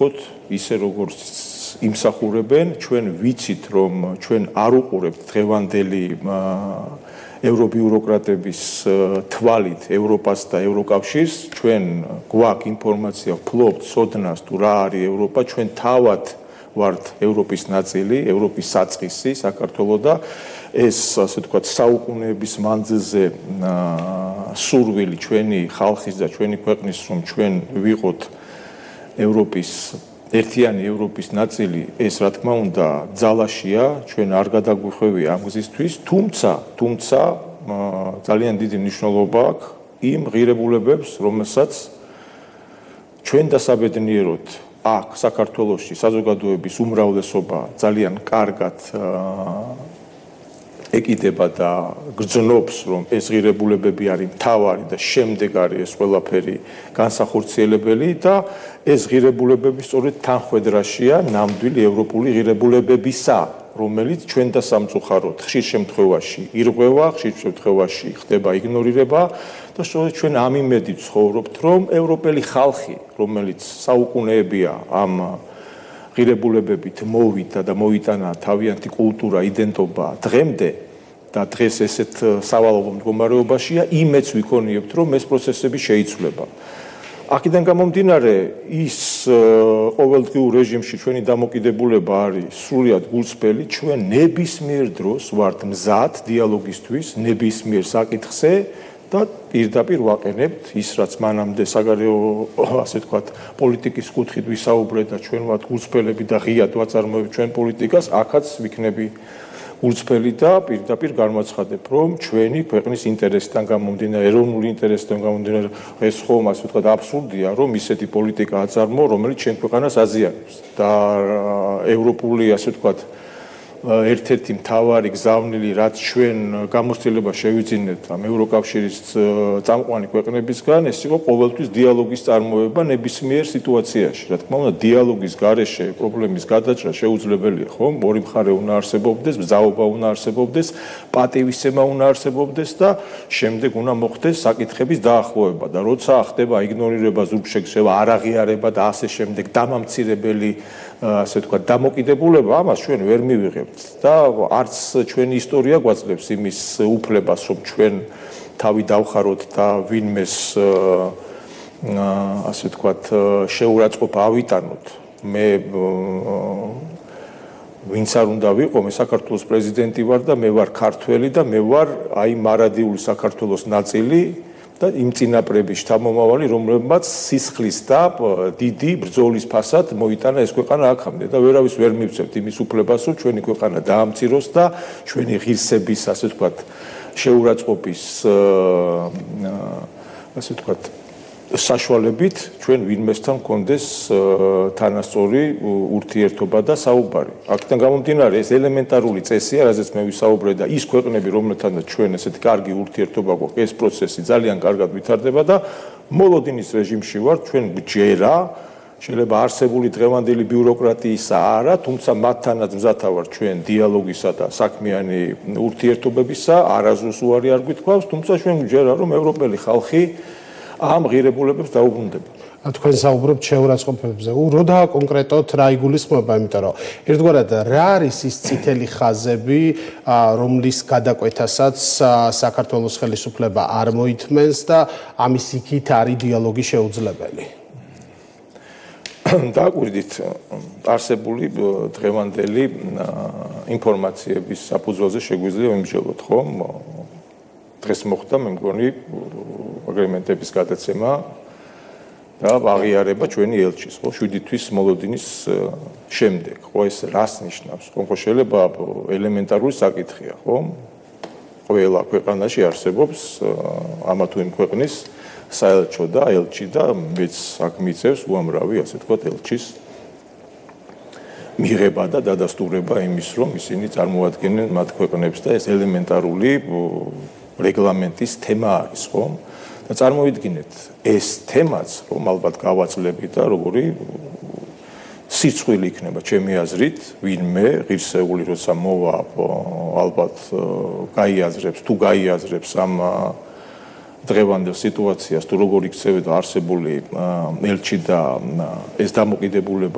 ისე როგორც იმსახურებენ, ჩვენ ვიცით, რომ ჩვენ არ უყურებთ დღევანდელი ევრობიუროკრატების თვალით ევროპას და ევროკავშირს, ჩვენ გვაქვს ინფორმაცია, ვფლობთ ცოდნას თუ რა არის ევროპა, ჩვენ თავად ვართ ევროპის ნაწილი, ევროპის საწყისი, საქართველო და ეს, ასე ვთქვათ, საუკუნეების მანძილზე სურვილი ჩვენი ხალხის და ჩვენი ქვეყნის, რომ ჩვენ ვიყოთ ევროპის ერთიანი ევროპის ნაწილი, ეს რა თქმა უნდა ძალაშია, ჩვენ არ გადაგვიხვევია ამ გზისთვის, თუმცა ძალიან დიდი მნიშვნელობა აქვს იმ ღირებულებებს, რომელსაც ჩვენ დასაბედნიეროდ აქ საქართველოში საზოგადოების უმრავლესობა ძალიან კარგად ეკიდება და გრძნობს, რომ ეს ღირებულებები არის მთავარი და შემდეგ არის ეს ყველაფერი განსახორციელებელი და ეს ღირებულებები სწორედ თანხვედრაშია ნამდვილი ევროპული ღირებულებებისა, რომელიც ჩვენ და სამწუხაროდ ხშირ შემთხვევაში ირღვევა, ხშირ შემთხვევაში ხდება იგნორირება და სწორედ ჩვენ ამ იმედით ცხოვრობთ, რომ ევროპელი ხალხი, რომელიც საუკუნეებია ამ ღირებულებებით მოვიდა და მოიტანა თავიანთი კულტურა, იდენტობა დღემდე და დღეს ესეთ სავალალო მდგომარეობაშია, იმედს ვიქონიებთ, რომ ეს პროცესები შეიცვლება. აქედან გამომდინარე, ის ყოველდღიურ რეჟიმში ჩვენი დამოკიდებულება არის სრულიად გულწრფელი, ჩვენ ნებისმიერ დროს ვართ მზად დიალოგისთვის, ნებისმიერ საკითხზე და პირდაპირ ვაყენებთ ის, რაც მანამდე საგარეო, ასე ვთქვათ, პოლიტიკის კუთხით ვისაუბრეთ და ჩვენ ვართ გულწრფელები და ღიად ვაწარმოებთ ჩვენ პოლიტიკას, აქაც ვიქნები გულწრფელი და პირდაპირ გამოაცხადებ, რომ ჩვენი ქვეყნის ინტერესიდან გამომდინარე, ეროვნული ინტერესიდან გამომდინარე, ეს ხომ ასე ვთქვათ აბსურდია, რომ ისეთი პოლიტიკა აწარმოო, რომელიც ჩვენ ქვეყანას აზიანებს და ევროპული, ასე ვთქვათ, ერთ-ერთი მთავარი გზავნილი, რაც ჩვენ გამოცდილება შევიძინეთ ამ ევროკავშირის წამყვანი ქვეყნებისგან, ეს იყო ყოველთვის დიალოგის წარმოება ნებისმიერ სიტუაციაში. რა თქმა უნდა, დიალოგის გარეშე პრობლემის გადაჭრა შეუძლებელია, ხომ? ორი მხარე უნდა არსებობდეს, ბრძაობა უნდა არსებობდეს, პატივისცემა უნდა არსებობდეს და შემდეგ უნდა მოხდეს საკითხების დაახლოება და როცა ხდება იგნორირება, ზურგშექცევა, არაღიარება და ასე შემდეგ დამამცირებელი, ასე ვთქვათ, დამოკიდებულება, ამას ჩვენ ვერ მივიღებთ და არც ჩვენი ისტორია გვაძლევს იმის უფლებას, რომ ჩვენ თავი დავხაროთ და ვინმეს, ასე ვთქვათ, შეურაცხყოფა ავიტანოთ. მე ვინც არ უნდა ვიყო, მე საქართველოს პრეზიდენტი ვარ და მე ვარ ქართველი და მე ვარ აი მარადიული საქართველოს ნაწილი და იმ წინაპრების შთამომავალი, რომლებმაც სისხლის და დიდი ბრძოლის ფასად მოიტანა ეს ქვეყანა აქამდე და ვერავის ვერ მივცემთ იმის უფლებას, რომ ჩვენი ქვეყანა დაამციროს და ჩვენი ღირსების, ასე ვთქვათ, შეურაცხყოფის, ასე ვთქვათ, საშუალებით ჩვენ ვინმესთან გქონდეს თანასწორი ურთიერთობა და საუბარი. აქედან გამომდინარე, ეს ელემენტარული წესია, რაზეც მე ვისაუბრე და ის ქვეყნები, რომელთანაც ჩვენ ესეთი კარგი ურთიერთობა გვაქვს, ეს პროცესი ძალიან კარგად ვითარდება და მოლოდინის რეჟიმში ვართ, ჩვენ გჯერა, შეიძლება არსებული დღევანდელი ბიუროკრატიისა არა, თუმცა მათთანაც მზათა ვართ ჩვენ დიალოგისა და საქმიანი ურთიერთობებისა, არასდროს უარი არ გვითხოვს, თუმცა ჩვენ გჯერა, რომ ევროპელი ხალხი ამ ღირებულებებს დაუბრუნდება. თქვენ საუბრობთ შეურაცხყოფებზე. როდა კონკრეტულად რა იგულისხმება, იმიტომ რომ ერთგვარად რა არის ის წითელი ხაზები, რომლის გადაკვეთასაც საქართველოს ხელისუფლება არ მოითმენს და ამის იქით არის დიალოგი შეუძლებელი. დააკვირდით არსებული დღევანდელი ინფორმაციების საფუძველზე შეგვიძლია ვიმსჯელოთ, ხომ? დღეს მოხდა, მე მგონი, აგრემენტების გადაცემა და აღიარება ჩვენი ელჩის, ხო, 7 თვის მოლოდინის შემდეგ. ხო, ეს რას ნიშნავს? ხო, შეიძლება ელემენტარული საკითხია, ხო? ყველა ქვეყანაში არსებობს ამა თუ იმ ქვეყნის საელჩო და ელჩი და მეც აქ მიწევს უამრავი, ასე ვთქვათ, ელჩის მიღება და დადასტურება იმის, რომ ისინი წარმოადგენენ მათ ქვეყნებს და ეს ელემენტარული რეგლამენტის თემა არის, ხო? და წარმოვიდგინეთ, ეს თემაც, რომ ალბათ გავაძლებით და როგორი სიცხვილი იქნება ჩემი აზრით, ვინმე ღირსეული როცა მოვა, ალბათ გაიაზრებს, თუ გაიაზრებს ამ დღევანდელ სიტუაციას, თუ როგორ იქცევდა არსებული ელჩი და ეს დამოკიდებულება